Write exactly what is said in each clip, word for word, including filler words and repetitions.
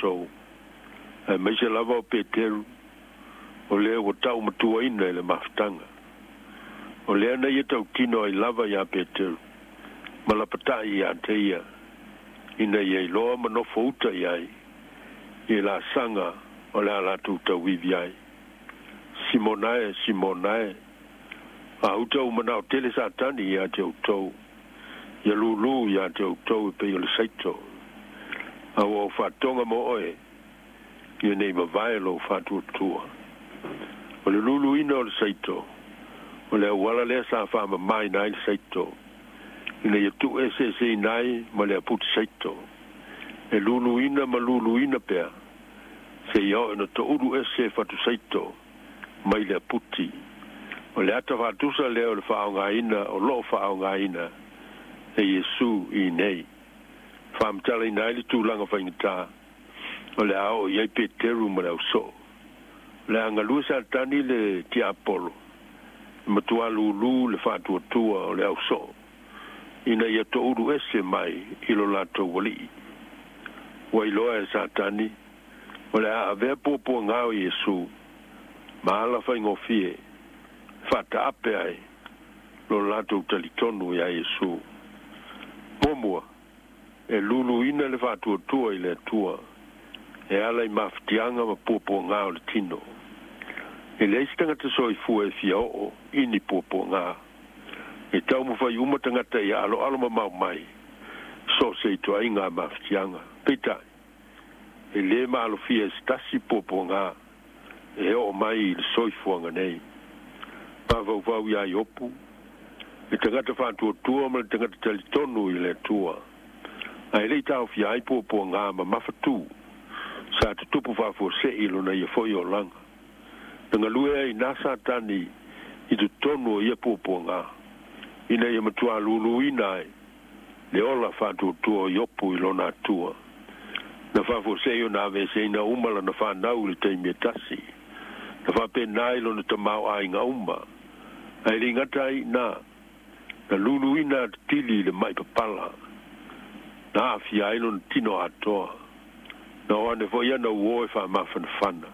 latou aemaise lava o Peteru o lea ua ta'umatuaina i le mafutaga. O lea na ia tautino ai lava iā Peteru ma lapata'i iā te ia ina ia iloa ma nofo uta i ai i laasaga o le a latou tauivi ai. Simona e, Simona e, a uta ua mana'o tele Satani iā te outou ia lūlū iā te outou e pei o le saito, a ua ou fa'atoga mo oe ia nei mavae lou fa'atuatua. O le luluina o le saito o le auala lea sa fa'amamāina ai le saito ina ia tu'ueseeseina ai ma le aputi saito, e luluina ma luluina pea seia oo ina to'ulu ese fatu saito mai le aputi. O le ata fa'atusa lea o le fa'aaogāina o lo'o fa'aaogāina e Iesū i nei fa'amatalaina ai le tulaga faigata o le a oo i ai Peteru ma le ausoo. O le a galue Satani le tiapolo e matuā lūlū le fa'atuatua o le ausoo ina ia to'ulu ese mai i lo latou ali'i. Ua iloa e Satani o le a avea puapuagā o Iesū ma ala faigofie fa'ata'ape ai lo latou talitonu iā Iesū. Muamua, e luluina le fa'atuatua i le Atua e ala i mafatiaga ma puapuagā o le tino. E leai se tagata soifua e fia o'o i ni puapuagā. E taumafai uma tagata ia aloalo mamao mai so o se ituaiga mafatiaga. Peitai, e lē maalofia e se tasi puapuagā e o'o mai i le soifuaga nei. Mafaufau iā Iopu, le tagata fa'atuatua ma le tagata talitonu i le Atua, ae le'i taofia ai puapuagā ma mafatū sa tutupu fa'afuase'i lona ia fo'i olaga. Na galue ai nā Satani i totonu o ia puapuagā ina ia matuā luluina ai le ola fa'atuatua o Iopu i lona Atua. Na fa'afuase'i ona aveeseina uma lana fānau i le taimi e tasi. Na fa'apena ai lona tamāo'aiga uma. Ae le'i gata ai iinā, na luluina atatili i le ma'i papala na a'afia ai lona tino atoa. Na o ane fo'i ana uō e fa'amafanafana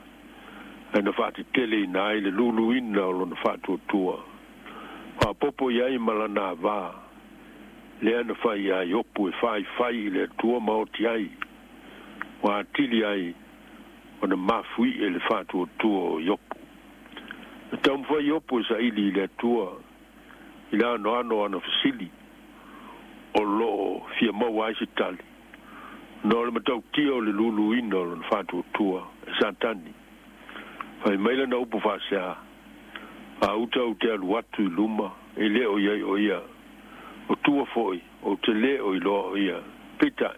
ae na fa'ateteleina ai le luluina o lona fa'atuatua. Fa'apopo i ai ma lana avā lea na fai iā Iopu e faifai i le Atua ma oti ai, ua atili ai ona mafui'e le fa'atuatua o Iopu. Na taumafai Iopu e sa'ili i le Atua i le anoano o ana fesili o lo'o fia maua ai se tali no le matautia o le luluina o lona fa'atuatua e Satani. Fai mai lana upu fa'asea: "A uta ou te alu atu i luma e lē o iai o ia, o tua fo'i ou te lē o iloa o ia." Peitai,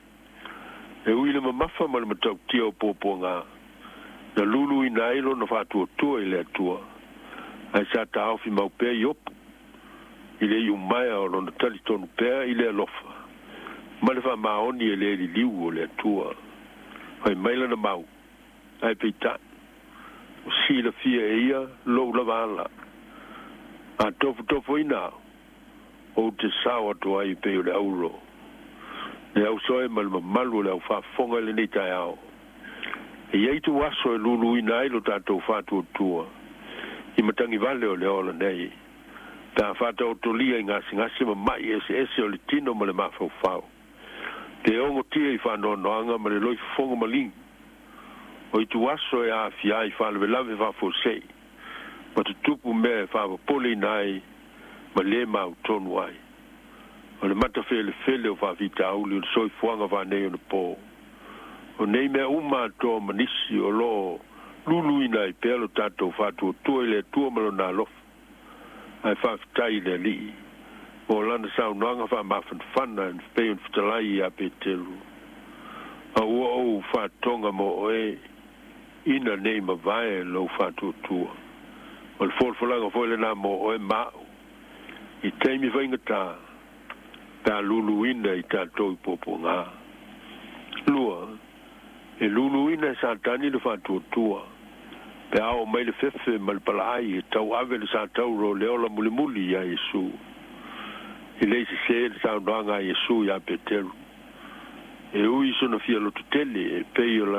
e ui le mamafa ma le matautia o puapuagā na luluina ai lona fa'atuatua i le Atua, ae sa taofi mau pea Iopu i le iumaea o lona talitonu pea i le alofa ma le fa'amaoni e lē liliu o le Atua. Fai mai lana mau: "Ae peita'i o silafia e ia lou lava ala. A tofotofoina au ou te sao atu ai pei o le auro." Le auso e ma le mamalu o le aufa'afofoga i lenei taeao, e iai tuaso e luluina ai lo tatou fa'atuatua i matagi vale o le ola nei pe a fa'ataotolia i gasegase ma ma'i eseese o le tino ma le mafaufau, le ogotia i fa'anoanoaga ma le loifofoga maligi. O ituaso e a'afia ai fa'alavelave fa'afuase'i ma tutupu mea e fa'apopoleina ai ma lē mautonu ai o le matafelefele o fa'afitauli o le soifuaga fa'anei ona pō. O nei mea uma atoa ma nisi o lo'o luluina ai pea lo tatou fa'atuatua i le Atua ma lona alofa. Ae fa'afetai i le Ali'i mo lana saunoaga fa'amafanafana e pei ona fetalai iā Peteru: "A ua ou fa'atoga mo oe ina nei mavae lou fa'atuatua." O le folafolaga foi lenā mo oe ma'u i taimi faigatā pe a luluina i tatou i puapuagā. Lua, e luluina e Satani le fa'atuatua pe a oo mai le fefe ma le pala'ai e tau'ave le satauro o le ola mulimuli iā Iesū. E lē sesē le saunoaga a Iesū iā Peteru, e ui sona fia lototele e pei o lana